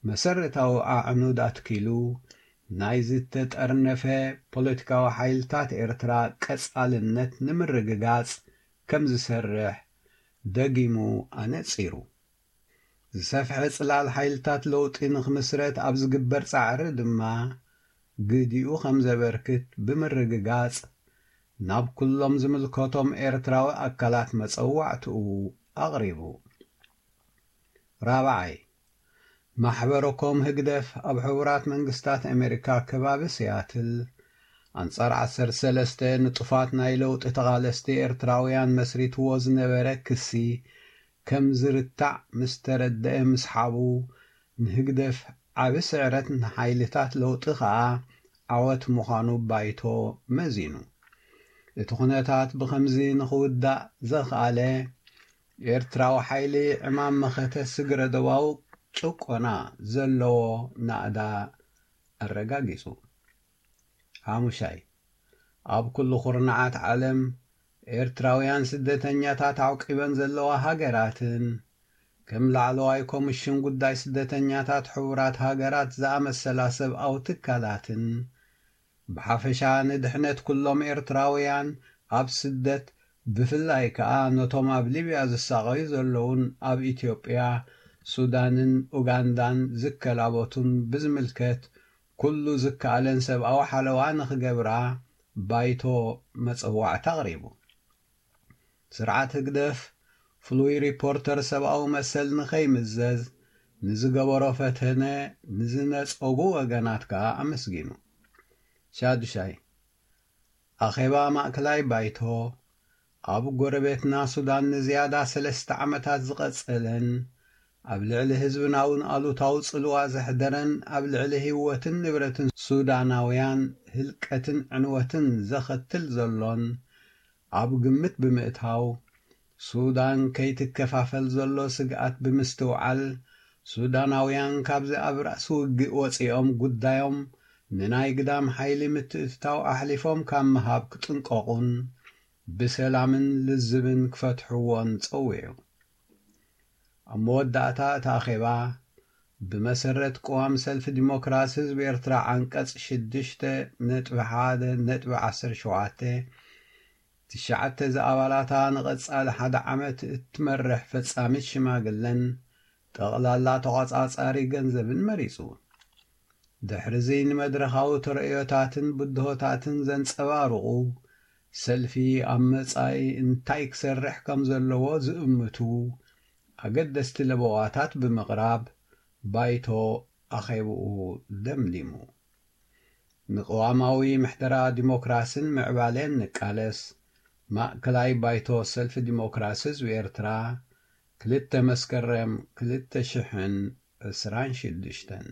መሰረታዊ ኣዕኑድ ኣትኪሉ ናይ ዝተጠርነፈ ፖለቲካዊ ሓይልታት ኤርትራ ቀጻልነት ንምርግጋጽ ከም ዝሰርሕ ደጊሙ ኣነጺሩ። ዝሰፍሐ ጽላል ሓይልታት ለውጢ ንኽምስረት ኣብ ዝግበር ጻዕሪ ድማ ግዲኡ ከም ዘበርክት ብምርግጋጽ ናብ ኩሎም ዝምልከቶም ኤርትራዊ ኣካላት መጸዋዕትኡ ኣቕሪቡ። ራብዓይ፣ ማሕበረኮም ህግደፍ ኣብ ሕቡራት መንግስታት ኣሜሪካ ከባቢ ሲያትል ኣንጻር ዓሰርተ ሰለስተ ንጡፋት ናይ ለውጢ ተቓለስቲ ኤርትራውያን መስሪትዎ ዝነበረ ክሲ ከም ዝርታዕ ምስ ተረደአ ምስሓቡ፣ ንህግደፍ ዓቢ ስዕረት፣ ንሓይልታት ለውጢ ከኣ ዓወት ምዃኑ ባይቶ መዚኑ። እቲ ኩነታት ብኸምዚ ንኽውዳእ ዘኽኣለ፣ ኤርትራዊ ሓይሊ ዕማም መኸተ ስግረ ዶባዊ ጭቆና ዘለዎ ናእዳ ኣረጋጊጹ። ሓሙሻይ፣ ኣብ ኩሉ ኩርናዓት ዓለም ኤርትራውያን ስደተኛታት ዓውቂበን ዘለዋ ሃገራትን ከም ላዕለዋይ ኮሚሽን ጉዳይ ስደተኛታት ሕቡራት ሃገራት ዝኣመሰላ ሰብኣዊ ትካላትን ብሓፈሻ ንድሕነት ኩሎም ኤርትራውያን ኣብ ስደት፣ ብፍላይ ከኣ ነቶም ኣብ ሊብያ ዝሳቐዩ ዘለዉን ኣብ ኢትዮጵያ፣ ሱዳንን ኡጋንዳን ዝከላበቱን ብዝምልከት ኩሉ ዝከኣለን ሰብኣዊ ሓለዋ ንኽገብራ ባይቶ መጸዋዕታ ኣቕሪቡ። ስርዓት ህግደፍ ፍሉይ ሪፖርተር ሰብኣዊ መሰል ንኸይምዘዝ ንዝገበሮ ፈተነ ንዝነጸጉ ወገናት ከኣ ኣመስጊኑ። ሻዱሻይ፣ ኣኼባ ማእከላይ ባይቶ ኣብ ጎረቤትና ሱዳን ንዝያዳ ሰለስተ ዓመታት ዝቐጸለን ኣብ ልዕሊ ህዝብና እውን ኣሉታዊ ጽልዋ ዘሕደረን ኣብ ልዕሊ ህይወትን ንብረትን ሱዳናውያን ህልቀትን ዕንወትን ዘኸትል ዘሎን ኣብ ግምት ብምእታው፣ ሱዳን ከይትከፋፈል ዘሎ ስግኣት ብምስትውዓል፣ ሱዳናውያን ካብዚ ኣብ ራእሲ ውግእ ወጺኦም ጉዳዮም ንናይ ግዳም ሓይሊ ምትእትታው ኣሕሊፎም ካብ ምሃብ ክጥንቀቑን ብሰላምን ልዝብን ክፈትሕዎን ጸዊዑ። ኣብ መወዳእታ እቲ ኣኼባ፣ ብመሰረት ቅዋም ሰልፊ ዲሞክራሲ ህዝቢ ኤርትራ ዓንቀጽ ሽዱሽተ ነጥቢ ሓደ ነጥቢ ዓሰርተ ሸውዓተ፣ ትሽዓተ ዝኣባላታ ንቐጻሊ ሓደ ዓመት እትመርሕ ፈጻሚት ሽማግለን ጠቕላላ ተቖጻጻሪ ገንዘብን መሪጹ። ድሕሪዚ ንመድረኻዊ ተርእዮታትን ብድሆታትን ዘንጸባርቑ ሰልፊ ኣብ መጻኢ እንታይ ክሰርሕ ከም ዘለዎ ዝእምቱ ኣገደስቲ ለበዋታት ብምቕራብ ባይቶ ኣኼብኡ ደምዲሙ። ንቅዋማዊ ምሕደራ ዲሞክራስን ምዕባለን ንቃለስ፣ ማእከላይ ባይቶ ሰልፊ ዲሞክራሲ ህዝቢ ኤርትራ፣ ክልተ መስከረም ክልተ ሽሕን ዕስራን ሽዱሽተን።